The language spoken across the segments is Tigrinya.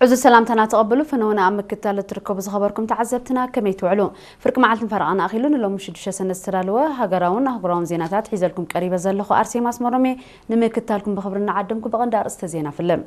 እዚ ሰላምታና ተቐብሉ። ፍነውና ኣብ ምክትታል እትርከቡ ዝኸበርኩም ተዓዘብትና ከመይ ትውዕሉ? ፍርቂ መዓልትን ፈረቓን ኣኺሉ ንሎሚ ሽዱሽተ ሰነ ዝተዳለወ ሃገራውን ኣህጉራውን ዜናታት ሒዘልኩም ቀሪበ ዘለኹ ኣርሴማ ኣስመሮም እየ። ንምክትታልኩም ብኽብሪ እናዓደምኩ ብቐንዲ ኣርእስተ ዜና ፍልም።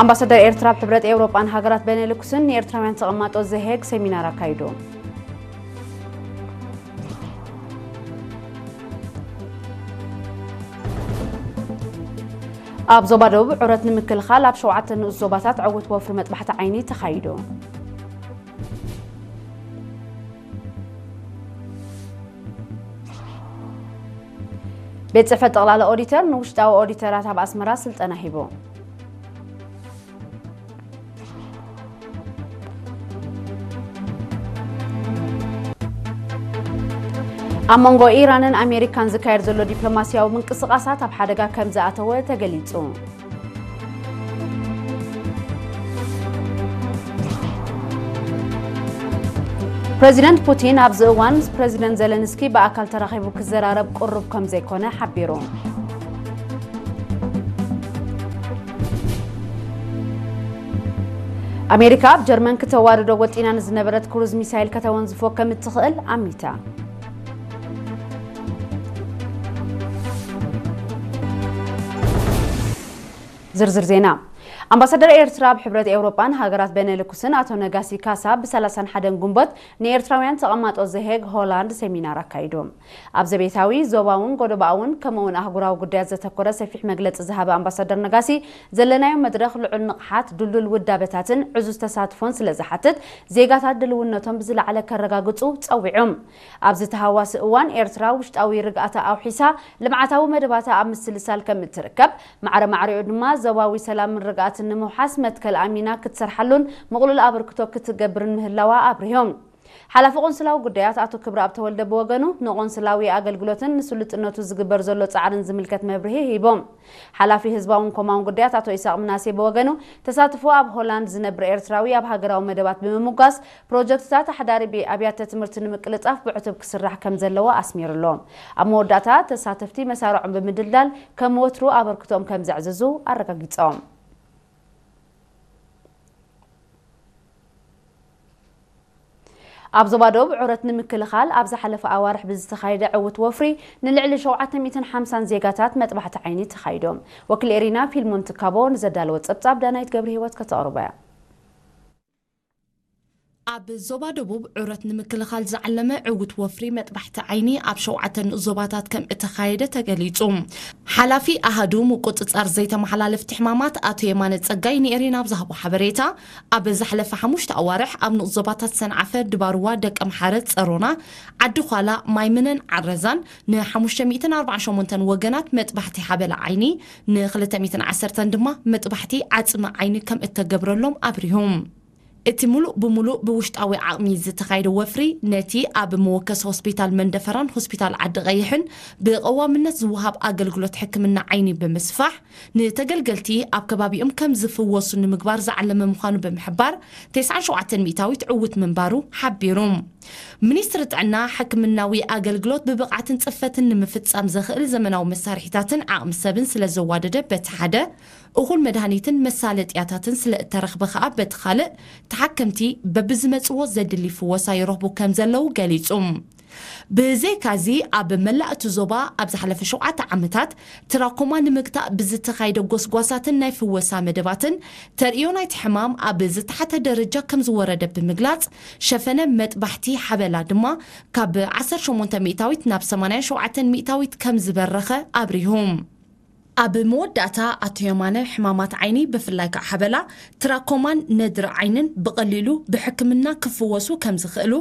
ኣምባሳደር ኤርትራ ኣብ ሕብረት ኤውሮጳን ሃገራት ቤኔሉክስን ንኤርትራውያን ተቐማጦ ዘሄግ ሴሚናር ኣካይዱ። ኣብ ዞባ ደቡብ ዑረት ንምክልኻል ኣብ ሸውዓተ ንኡስ ዞባታት ዕውት ወፍሪ መጥባሕቲ ዓይኒ ተኻይዱ። ቤት ጽሕፈት ጠቕላላ ኦዲተር ንውሽጣዊ ኦዲተራት ኣብ ኣስመራ ስልጠና ሂቡ። ኣብ መንጎ ኢራንን ኣሜሪካን ዝካየድ ዘሎ ዲፕሎማስያዊ ምንቅስቓሳት ኣብ ሓደጋ ከም ዝኣተወ ተገሊጹ። ፕረዚደንት ፑቲን ኣብዚ እዋን ምስ ፕረዚደንት ዘለንስኪ ብኣካል ተራኺቡ ክዘራረብ ቅሩብ ከም ዘይኮነ ሓቢሩ። ኣሜሪካ ኣብ ጀርመን ክተዋርዶ ወጢና ንዝነበረት ክሩዝ ሚሳይል ከተወንዝፎ ከም እትኽእል ኣሚታ። ዝርዝር ዜና። ኣምባሳደር ኤርትራ ኣብ ሕብረት ኤውሮጳን ሃገራት ቤኔሉክስን ኣቶ ነጋሲ ካሳ ብ ሰላሳን ሓደን ግንቦት ንኤርትራውያን ተቐማጦ ዘሄግ ሆላንድ ሴሚናር ኣካይዱ። ኣብ ዘቤታዊ፣ ዞባውን ጎደባኣውን ከምኡውን ኣህጉራዊ ጉዳያት ዘተኮረ ሰፊሕ መግለጺ ዝሃበ ኣምባሳደር ነጋሲ፣ ዘለናዮ መድረኽ ልዑል ንቕሓት፣ ድልዱል ውዳበታትን ዕዙዝ ተሳትፎን ስለ ዝሓትት፣ ዜጋታት ድልውነቶም ብዝለዓለ ከረጋግጹ ጸዊዑ። ኣብዚ ተሃዋሲ እዋን ኤርትራ ውሽጣዊ ርግኣታ ኣውሒሳ ልምዓታዊ መደባታ ኣብ ምስልሳል ከም እትርከብ፣ ማዕረ ማዕሪኡ ድማ ዞባዊ ሰላምን ርግኣትን ንምውሓስ መትከል ኣሚና ክትሰርሓሉን ምቕሉል ኣበርክቶ ክትገብርን ምህላዋ ኣብሪሆም። ሓላፊ ቆንስላዊ ጉዳያት ኣቶ ክብረኣብ ተወልደ ብወገኑ፣ ንቆንስላዊ ኣገልግሎትን ንስሉጥነቱ ዝግበር ዘሎ ጻዕርን ዝምልከት መብርሂ ሂቦም። ሓላፊ ህዝባውን ኮማውን ጉዳያት ኣቶ ኢሳቕ ምናሴ ብወገኑ፣ ተሳትፎ ኣብ ሆላንድ ዝነብር ኤርትራዊ ኣብ ሃገራዊ መደባት ብምምጓስ፣ ፕሮጀክትታት ኣሕዳሪ ብ-፣ ኣብያተ ትምህርቲ ንምቅልጣፍ ብዕቱብ ክስራሕ ከም ዘለዎ ኣስሚሩሎ። ኣብ መወዳእታ፣ ተሳተፍቲ መሳርዖም ብምድልዳል ከም ወትሩ ኣበርክቶኦም ከም ዘዕዝዙ ኣረጋጊጾም። ኣብ ዞባ ደቡብ ዑረት ንምክልኻል ኣብ ዝሓለፈ ኣዋርሕ ብዝተኻየደ ዕውት ወፍሪ ንልዕሊ ሸውዓተ ሚእትን ሓምሳን ዜጋታት መጥባሕቲ ዓይኒ ተኻይዶም። ወኪል ኤሪና ፊልሞን ትካቦ ንዘዳለወ ጸብጻብ ዳናይት ገብረ ህይወት ከተቕርቦ እያ። ኣብ ዞባ ደቡብ ዑረት ንምክልኻል ዝዓለመ ዕውት ወፍሪ መጥባሕቲ ዓይኒ ኣብ ሸውዓተ ንኡስ ዞባታት ከም እተኻየደ ተገሊጹ። ሓላፊ ኣሃዱ ምቁጽጻር ዘይተመሓላለፍቲ ሕማማት ኣቶ የማነ ጸጋይ ንኤሪና ኣብ ዝሃቦ ሓበሬታ፣ ኣብ ዝሓለፈ ሓሙሽተ ኣዋርሕ ኣብ ንኡስ ዞባታት ሰንዓፈ፣ ድባርዋ፣ ደቀምሓረ፣ ጸሮና፣ ዓዲ ዃላ፣ ማይምነን ዓረዛን ንሓሙሽተ ሚእትን ኣርባዓን ሸሞንተን ወገናት መጥባሕቲ ሓበላ ዓይኒ፣ ንክልተ ሚእትን ዓሰርተን ድማ መጥባሕቲ ዓጽሚ ዓይኒ ከም እተገብረሎም ኣብሪሁ። እቲ ምሉእ ብምሉእ ብውሽጣዊ ዓቕሚ ዝተኻየደ ወፍሪ፣ ነቲ ኣብ መወከሲ ሆስፒታል መንደፈራን ሆስፒታል ዓዲ ቀይሕን ብቐዋምነት ዝወሃብ ኣገልግሎት ሕክምና ዓይኒ ብምስፋሕ፣ ንተገልገልቲ ኣብ ከባቢኦም ከም ዝፍወሱ ንምግባር ዝዓለመ ምዃኑ ብምሕባር፣ ተስዓን ሸውዓተን ሚእታዊት ዕውት ምንባሩ ሓቢሩ። ሚኒስትሪ ጥዕና፣ ሕክምናዊ ኣገልግሎት ብብቕዓትን ጽፈትን ንምፍጻም ዘኽእል ዘመናዊ መሳርሒታትን ዓቕሚ ሰብን ስለ ዘዋደደ በቲ ሓደ፣ እኹል መድሃኒትን መሳለጥያታትን ስለ እተረኽበ ከኣ በቲ ካልእ፣ ተሓከምቲ በብዝመጽዎ ዘድሊ ፍወሳ ይረኽቡ ከም ዘለዉ ገሊጹ። ብዘይካዚ፣ ኣብ መላእ እቲ ዞባ ኣብ ዝሓለፈ ሸውዓተ ዓመታት ትራኮማ ንምግታእ ብዝተኻየደ ጎስጓሳትን ናይ ፍወሳ መደባትን፣ ተርእዮ ናይቲ ሕማም ኣብ ዝተሓተ ደረጃ ከም ዝወረደ ብምግላጽ፣ ሸፈነ መጥባሕቲ ሓበላ ድማ ካብ ዓሰርተ ሸሞንተ ሚእታዊት ናብ ሰማንያን ሸውዓተን ሚእታዊት ከም ዝበረኸ ኣብሪሁ። ኣብ መወዳእታ ኣቶ የማነ፣ ሕማማት ዓይኒ፣ ብፍላይ ከዓ ሓበላ፣ ትራኮማን ነድሪ ዓይንን ብቐሊሉ ብሕክምና ክፍወሱ ከም ዝኽእሉ፣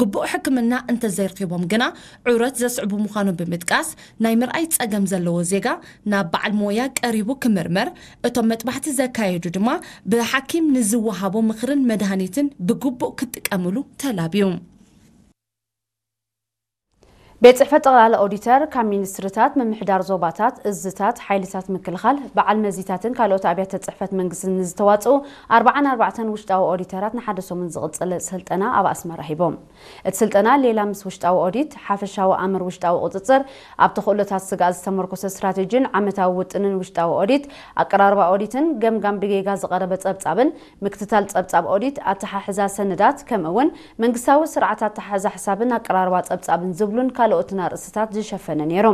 ግቡእ ሕክምና እንተዘይረኺቦም ግና ዑረት ዘስዕቡ ምዃኑ ብምጥቃስ፣ ናይ ምርኣይ ጸገም ዘለዎ ዜጋ ናብ በዓል ሞያ ቀሪቡ ክምርመር፣ እቶም መጥባሕቲ ዘካየዱ ድማ ብሓኪም ንዝወሃቦ ምኽርን መድሃኒትን ብግቡእ ክጥቀምሉ ተላብዩ። ቤት ጽሕፈት ጠቕላላ ኦዲተር ካብ ሚኒስትርታት፣ ምምሕዳር ዞባታት፣ እዝታት፣ ሓይልታት ምክልኻል፣ በዓል መዚታትን ካልኦት ኣብያተ ጽሕፈት መንግስትን ንዝተዋጽኡ ኣርባዓን ኣርባዕተን ውሽጣዊ ኦዲተራት ንሓደ ሰሙን ዝቕጽል ስልጠና ኣብ ኣስመራ ሂቦም። እቲ ስልጠና ሌላ ምስ ውሽጣዊ ኦዲት፣ ሓፈሻዊ ኣምር ውሽጣዊ ቁጽጽር፣ ኣብ ተኽእሎታት ስግኣት ዝተመርኮሰ ስትራቴጂን ዓመታዊ ውጥንን ውሽጣዊ ኦዲት፣ ኣቀራርባ ኦዲትን ገምጋም ብጌጋ ዝቐረበ ጸብጻብን ምክትታል ጸብጻብ ኦዲት፣ ኣተሓሕዛ ሰነዳት፣ ከምኡ እውን መንግስታዊ ስርዓት ኣተሓሕዛ ሕሳብን ኣቀራርባ ጸብጻብን ዝብሉን ካልኦትን ኣርእስትታት ዝሸፈነ ነይሩ።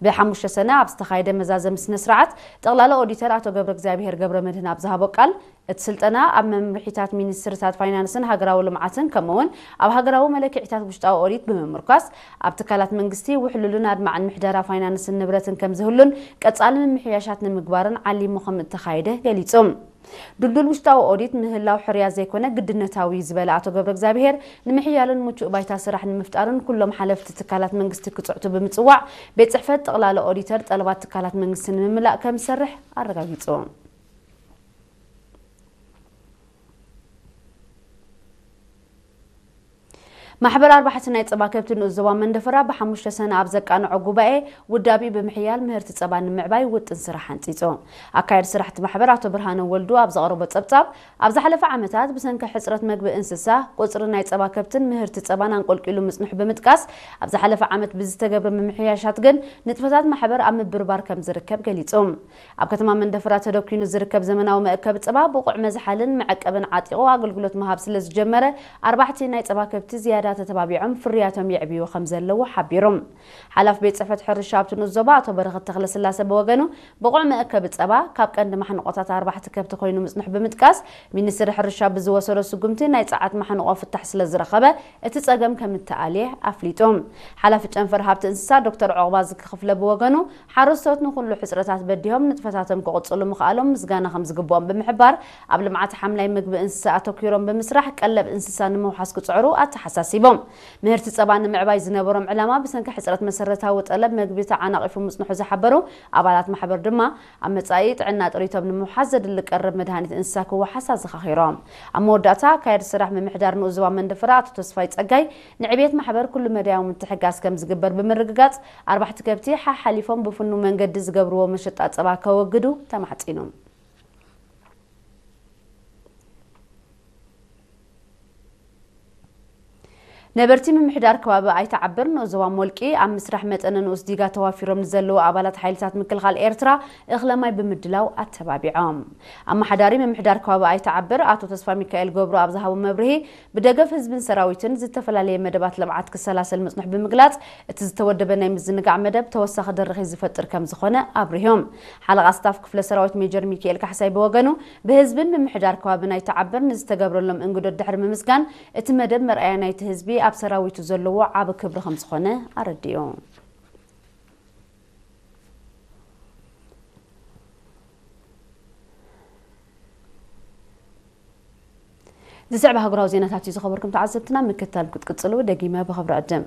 ብሓሙሽተ ሰነ ኣብ ዝተኻየደ መዛዘሚ ስነ ስርዓት፣ ጠቕላላ ኦዲተር ኣቶ ገብረ እግዚኣብሔር ገብረ መድህን ኣብ ዝሃቦ ቃል፣ እቲ ስልጠና ኣብ መምርሒታት ሚኒስትርታት ፋይናንስን ሃገራዊ ልምዓትን ከምኡ እውን ኣብ ሃገራዊ መለክዒታት ውሽጣዊ ኦዲት ብምምርኳስ፣ ኣብ ትካላት መንግስቲ ውሕሉልን ኣድማዕን ምሕደራ ፋይናንስን ንብረትን ከም ዝህሉን ቀጻሊ ምምሕያሻት ንምግባርን ዓሊሙ ከም እተኻየደ ገሊጹ። ድልዱል ውሽጣዊ ኦዲት ምህላው ሕርያ ዘይኮነ ግድነታዊ እዩ ዝበለ ኣቶ ገብረ እግዚኣብሔር፣ ንምሕያልን ምቹእ ባይታ ስራሕ ንምፍጣርን ኩሎም ሓለፍቲ ትካላት መንግስቲ ክጽዕቱ ብምጽዋዕ፣ ቤት ጽሕፈት ጠቕላላ ኦዲተር ጠለባት ትካላት መንግስቲ ንምምላእ ከም ዝሰርሕ ኣረጋጊጹ። ማሕበር ኣርባሕቲ ናይ ጸባ ከብቲ ንኡስ ዞባ መንደፈራ ብሓሙሽተ ሰነ ኣብ ዘቃንዖ ጉባኤ ውዳቢ ብምሕያል ምህርቲ ጸባ ንምዕባይ ውጥን ስራሕ ኣንጺጹ። ኣካየዲ ስራሕቲ ማሕበር ኣቶ ብርሃነ ወልዱ ኣብ ዘቕረቦ ጸብጻብ፣ ኣብ ዝሓለፈ ዓመታት ብሰንኪ ሕጽረት መግቢ እንስሳ፣ ቁጽሪ ናይ ጸባ ከብትን ምህርቲ ጸባን ኣንቆልቂሉ ምጽንሑ ብምጥቃስ፣ ኣብ ዝሓለፈ ዓመት ብዝተገብረ ምምሕያሻት ግን ንጥፈታት ማሕበር ኣብ ምብርባር ከም ዝርከብ ገሊጹ። ኣብ ከተማ መንደፈራ ተደኲኑ ዝርከብ ዘመናዊ መእከቢ ጸባ ብቑዕ መዝሓልን መዐቀብን ዓጢቑ ኣገልግሎት ምሃብ ስለ ዝጀመረ፣ ኣርባሕቲ ናይ ጸባ ከብቲ ዝያዳ ተተባቢዖም ፍርያቶም የዕብዩ ከም ዘለዉ ሓቢሩ። ሓላፊ ቤት ጽሕፈት ሕርሻ ኣብቲ ንኡስ ዞባ ኣቶ በረኸት ተኽለስላሰ ብወገኑ፣ ብቑዕ መእከቢ ጸባ ካብ ቀንዲ ማሕንቆታት ኣርባሕቲ ከብቲ ኮይኑ ምጽንሑ ብምጥቃስ፣ ሚኒስትሪ ሕርሻ ብዝወሰዶ ስጉምቲ ናይ ጸዓት ማሕንቆ ፍታሕ ስለ ዝረኸበ፣ እቲ ጸገም ከም እተኣልየ ኣፍሊጡ። ሓላፊ ጨንፈር ሃብቲ እንስሳ ዶክተር ዑቕባ ዝክኽፍለ ብወገኑ፣ ሓረስቶት ንኹሉ ሕጽረታት በዲሆም ንጥፈታቶም ክቕጽሉ ምኽኣሎም ምስጋና ከም ዝግብኦም ብምሕባር፣ ኣብ ልምዓት ሓምላይ ምግቢ እንስሳ ኣተኲሮም ብምስራሕ ቀለብ እንስሳ ንምውሓስ ክጽዕሩ ኣተሓሳሲቦም። ምህርቲ ጸባ ንምዕባይ ዝነበሮም ዕላማ ብሰንኪ ሕጽረት መሰረታዊ ጠለብ መግቢ ተዓናቒፉ ምጽንሑ ዝሓበሩ ኣባላት ማሕበር ድማ፣ ኣብ መጻኢ ጥዕና ጥሪቶም ንምውሓስ ዘድሊ ቀረብ መድሃኒት እንስሳ ክወሓስ ኣዘኻኺሮም። ኣብ መወዳእታ፣ ኣካያዲ ስራሕ ምምሕዳር ንኡስ ዞባ መንደፈራ ኣቶ ተስፋይ ጸጋይ፣ ንዕብየት ማሕበር ኩሉ መዳያዊ ምትሕጋዝ ከም ዝግበር ብምርግጋጽ፣ ኣርባሕቲ ከብቲ ሓሓሊፎም ብፍኑው መንገዲ ዝገብርዎ መሸጣ ጸባ ከወግዱ ተማሕጺኑ። ነበርቲ ምምሕዳር ከባቢ ኣይተዓብር ንኡስ ዞባ ሞልቂ ኣብ ምስራሕ መጠነ ንኡስ ዲጋ ተዋፊሮም ንዘለዉ ኣባላት ሓይልታት ምክልኻል ኤርትራ እኽለ ማይ ብምድላው ኣተባቢዖም። ኣመሓዳሪ ምምሕዳር ከባቢ ኣይተዓብር ኣቶ ተስፋ ሚካኤል ገብሩ ኣብ ዝሃቦ መብርሂ፣ ብደገፍ ህዝብን ሰራዊትን ዝተፈላለየ መደባት ልምዓት ክሰላሰል ምጽንሑ ብምግላጽ፣ እቲ ዝተወደበ ናይ ምዝንጋዕ መደብ ተወሳኺ ደረኺ ዝፈጥር ከም ዝኾነ ኣብሪሆም። ሓለቓ ስታፍ ክፍለ ሰራዊት ሜጀር ሚካኤል ካሕሳይ ብወገኑ፣ ብህዝብን ምምሕዳር ከባብን ኣይተዓብር ንዝተገብረሎም እንግዶት ድሕሪ ምምስጋን፣ እቲ መደብ መርኣያ ናይቲ ህዝቢ ኣብ ሰራዊቱ ዘለዎ ዓቢ ክብሪ ከም ዝኾነ ኣረዲኡ። ዝስዕብ ኣህጉራዊ ዜናታት እዩ ዝኸበርኩም ተዓዘብትና፣ ምክታል ክትቅጽሉ ደጊመ ብኽብሪ ዕድም።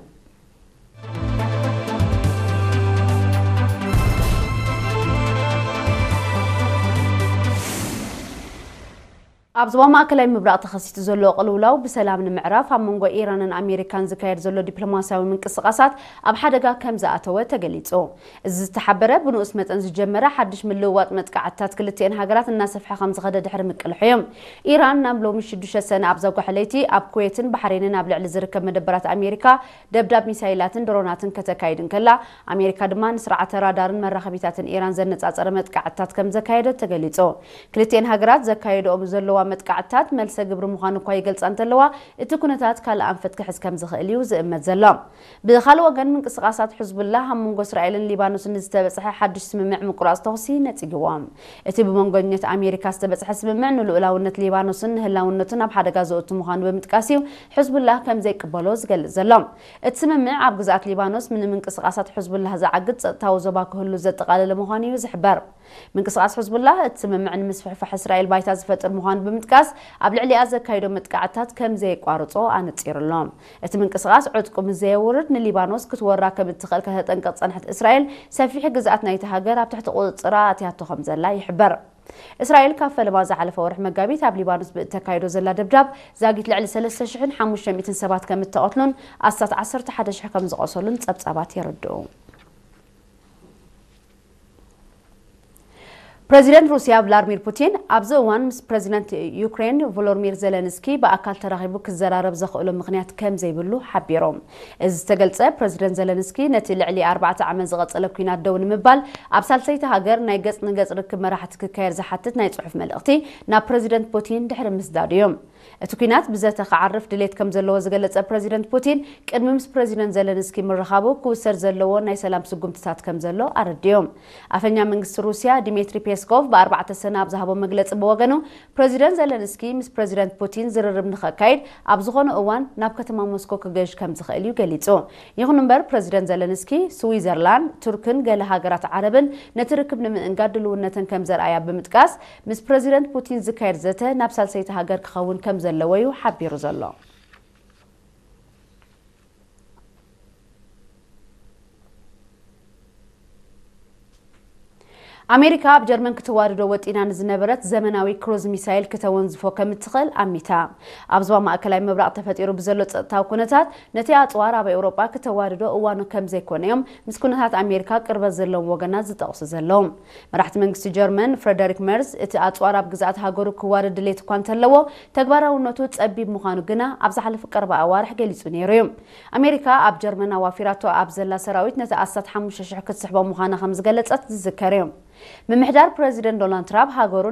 ኣብ ዞባ ማእከላይ ምብራቕ ተኸሲቱ ዘሎ ቅልውላው ብሰላም ንምዕራፍ ኣብ መንጎ ኢራንን ኣሜሪካን ዝካየድ ዘሎ ዲፕሎማስያዊ ምንቅስቓሳት ኣብ ሓደጋ ከም ዝኣተወ ተገሊጹ። እዚ ዝተሓበረ ብንኡስ መጠን ዝጀመረ ሓድሽ ምልውዋጥ መጥቃዕትታት ክልቲኤን ሃገራት እናሰፍሐ ከም ዝኸደ ድሕሪ ምቅልሑ እዩ። ኢራን ናብ ሎሚ ሽዱሽተ ሰነ ኣብ ዘጓሐ ለይቲ ኣብ ኩዌትን ባሕሬንን ኣብ ልዕሊ ዝርከብ መደበራት ኣሜሪካ ደብዳብ ሚሳይላትን ድሮናትን ከተካይድ እንከላ፣ ኣሜሪካ ድማ ንስርዓተ ራዳርን መራኸቢታትን ኢራን ዘነጻጸረ መጥቃዕትታት ከም ዘካየደት ተገሊጹ። ክልቲኤን ሃገራት ዘካየደኦም ዘለዋ መጥቃዕትታት መልሰ ግብሪ ምዃኑ እኳ ይገልጻ እንተለዋ፣ እቲ ኩነታት ካልእ ኣንፈት ክሕዝ ከም ዝኽእል እዩ ዝእመት ዘሎ። ብኻልእ ወገን፣ ምንቅስቓሳት ሕዝቡላህ ኣብ መንጎ እስራኤልን ሊባኖስን ንዝተበጽሐ ሓድሽ ስምምዕ ምቁራጽ ተኹሲ ነጺግዎ። እቲ ብመንጎኛት ኣሜሪካ ዝተበጽሐ ስምምዕ ንልኡላውነት ሊባኖስን ንህላውነቱን ኣብ ሓደጋ ዘእቱ ምዃኑ ብምጥቃስ እዩ ሕዝቡላህ ከም ዘይቅበሎ ዝገልጽ ዘሎ። እቲ ስምምዕ ኣብ ግዝኣት ሊባኖስ ንምንቅስቓሳት ሕዝቡላህ ዝዓግት ጸጥታዊ ዞባ ክህሉ ዘጠቓለለ ምዃኑ እዩ ዝሕበር። ምንቅስቓስ ሕዝቡላህ እቲ ስምምዕ ንምስፍሕፋሕ እስራኤል ባይታ ዝፈጥር ምዃኑ ብምጥቃስ፣ ኣብ ልዕሊኣ ዘካይዶ መጥቃዕትታት ከም ዘየቋርጾ ኣነጺሩ ኣሎ። እቲ ምንቅስቓስ ዕጥቁ ምስ ዘየውርድ ንሊባኖስ ክትወራ ከም እትኽእል ከተጠንቅቕ ዝጸንሐት እስራኤል፣ ሰፊሕ ግዝኣት ናይቲ ሃገር ኣብ ትሕቲ ቁጽጽራ ኣትያቶ ከም ዘላ ይሕበር። እስራኤል ካብ ፈለማ ዝሓለፈ ወርሒ መጋቢት ኣብ ሊባኖስ ብእተካይዶ ዘላ ደብዳብ ዛጊት ልዕሊ ሰለስተ ሽሕን ሓሙሽተ ሚእትን ሰባት ከም እተቐትሉን ኣስታት ዓሰርተ ሓደ ሽሕ ከም ዝቖሰሉን ጸብጻባት የረድኡ። ፕረዚደንት ሩስያ ቭላድሚር ፑቲን ኣብዚ እዋን ምስ ፕረዚደንት ዩክሬን ቮሎድሚር ዜለንስኪ ብኣካል ተራኺቡ ክዘራረብ ዘኽእሎ ምኽንያት ከም ዘይብሉ ሓቢሮም። እዚ ዝተገልጸ ፕረዚደንት ዘለንስኪ ነቲ ልዕሊ ኣርባዕተ ዓመት ዝቐጸለ ኲናት ደው ንምባል ኣብ ሳልሰይቲ ሃገር ናይ ገጽ ንገጽ ርክብ መራሕቲ ክካየድ ዝሓትት ናይ ጽሑፍ መልእኽቲ ናብ ፕረዚደንት ፑቲን ድሕሪ ምስዳዱ እዩ። እቲ ኲናት ብዘተ ክዓርፍ ድሌት ከም ዘለዎ ዝገለጸ ፕረዚደንት ፑቲን ቅድሚ ምስ ፕረዚደንት ዘለንስኪ ምርኻቡ ክውሰድ ዘለዎ ናይ ሰላም ስጉምትታት ከም ዘሎ ኣረድዮም። ኣፈኛ መንግስቲ ሩስያ ዲሜትሪ ፔስኮቭ ብኣርባዕተ ሰነ ኣብ ዝሃቦ መግለጺ ብወገኑ ፕረዚደንት ዘለንስኪ ምስ ፕረዚደንት ፑቲን ዝርርብ ንኸካይድ ኣብ ዝኾነ እዋን ናብ ከተማ ሞስኮ ክገሽ ከም ዝኽእል እዩ ገሊጹ። ይኹን እምበር ፕረዚደንት ዘለንስኪ ስዊዘርላንድ፣ ቱርክን ገለ ሃገራት ዓረብን ነቲ ርክብ ንምእንጋድ ድልውነተን ከም ዘርኣያ ብምጥቃስ ምስ ፕረዚደንት ፑቲን ዝካየድ ዘተ ናብ ሳልሰይቲ ሃገር ክኸውን ከም ዘለዎ እዩ ሓቢሩ ዘሎ። ኣሜሪካ ኣብ ጀርመን ክትዋድዶ ወጢና ንዝነበረት ዘመናዊ ክሩዝ ሚሳይል ክተወንዝፎ ከም እትኽእል ኣሚታ። ኣብ ዞባ ማእከላይ ምብራቕ ተፈጢሩ ብዘሎ ጸጥታዊ ኩነታት ነቲ ኣጽዋር ኣብ ኤውሮጳ ክተዋድዶ እዋኑ ከም ዘይኮነ እዮም ምስ ኩነታት ኣሜሪካ ቅርበት ዘለዎም ወገናት ዝጠቕሱ ዘለዉ። መራሕቲ መንግስቲ ጀርመን ፍረደሪክ መርዝ እቲ ኣጽዋር ኣብ ግዝኣት ሃገሩ ክዋደድ ድሌት እኳ እንተለዎ ተግባራውነቱ ጸቢብ ምዃኑ ግና ኣብ ዝሓለፉ ቀረባ ኣዋርሕ ገሊጹ ነይሩ እዩ። ኣሜሪካ ኣብ ጀርመን ኣዋፊራቶ ኣብ ዘላ ሰራዊት ነቲ ኣስታት ሓሙሽተ ሽሕ ክትስሕቦ ምዃና ከም ዝገለጸት ዝዝከር እዩ። ምምሕዳር ፕረዚደንት ዶናልድ ትራምፕ ሃገሩ